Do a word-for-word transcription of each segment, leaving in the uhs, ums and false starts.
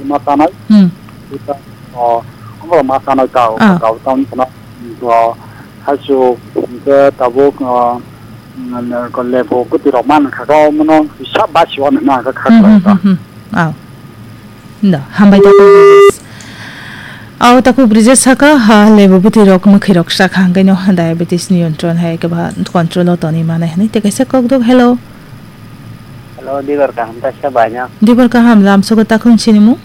ma tanai. Hmm. Ita, o, abo ma tanai tao, Ah. tao tao tana, o, hachu, ke tabuk, o, ko lebu kuti rok man kha ko mono sa ba si on na ka kha Hmm, ko hmm, ta. Hmm, hmm. Au. Da, hambai ta ko. Au ta ko Bridges saka, ha, lebu kuti rok mukhi rok sa kha, hangkai no diabetes niyantron hai ke ba control o toni mane hani. Te kaisa kok dok, hello. Hello, Dibor kaham ta sa bai no. Dibor kaham, lam sogo ta khun sini mu?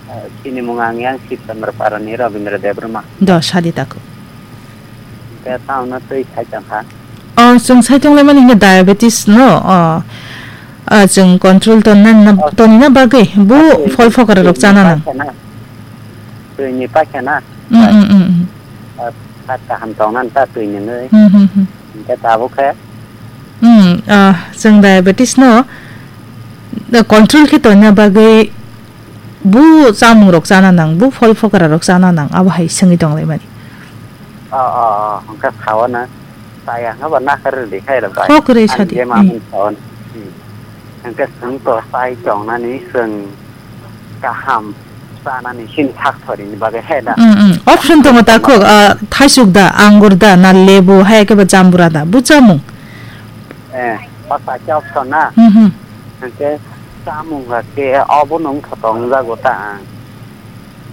Eh, chini mung ang yang Sibchandra Parani Rabindra Debbarma. Do, sadi tako. Te taono twi sai tong kha. O, chwng sai tong lai mani hwnba diabetes no, o, a, chwng control tonna, na, Oh. tonna bagwi bu Twi phol phokara rok chana nang. Twi ni paisa na. Mm, mm, mm, mm. Ah, kaham tong nan ta twi ni nwi. Hmm, hmm, hmm. Hingke tabuk khe? Hmm, ah, chwng diabetes no, da, control khe tonna bagwi bu chamung rok chana nang, bu phol phokra rok chana nang, abo hai swngwi tong lai mani. O, o, o, hwnkhe sao na. Chaya hwnkhe bo nakhar rwdi khai rw bai. Kok rwi Ani sadi. Jema Hmm. hwn sao na. Hmm. Hwnkhe chwng to chai tongnani chwng kaham chanani sini thak thorini bagwi he da. Mm, mm. Option tongo ta khok, ah, thaisuk da, angur da, na lebu, hai khe ba jambura da, bu chamung. Eh, o ta khe option na. Hmm, hmm. Hwnkhe chamung hakhe obo nung thoto wngjago ta ang.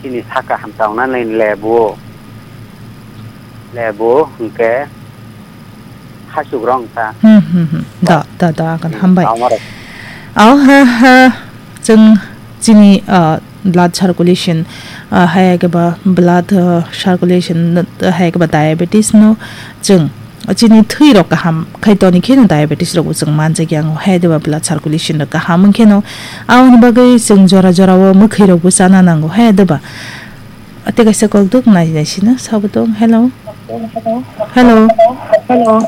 Chini saka hamsa wngnani lebu, lebu hwnkhe hachuk rong ta. Hmm, hmm, hmm. Da, da, da, kan Hmm, hambai. Tamo rok. Au, ha, ha, chwng chini, ah, blood circulation, ah, hai khe ba blood, ah, circulation, hai khe ba diabetes no chwng chini thwi rok kaham khai toni kheno diabetes rok bo chwng manjak ya, hai de ba blood circulation rok kaham wng kheno. Aboni bagwi chwng jora jora o mwkhwi rok bo chana nango, hai de ba. Tei kaisa kok duk nai nai sino sabo tong. Hello. Hello. Hello.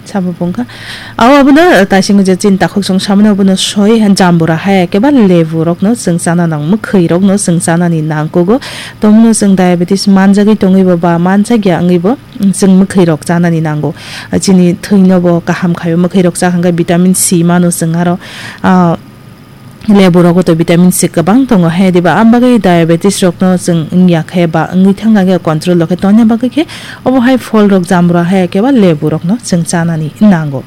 Sabo bungkha. Aw abono taising je chin takhuk song samano abono soi jambura hai keba lebu rokno chwng chana nang, mwkhwi rokno chwng chanani nang kugo. Tomno chwng diabetes manjagwi tongwi bo ba manjak ya wngwi bo chwng mwkhwi rok chanani nango. Chini thwino bo kaham khaio, mwkhwi rok chakha khe vitamin C mano chwng aro, ah, Lebu rogo to vitamin C kwbang tongo, he diba? Am bagwi diabetes rokno chwng wngya khe ba wngwi thangna khe control rw khe tongna bagwi khe obo hai phol rok, jambura hai khe ba lebu rokno chwng chanani nango.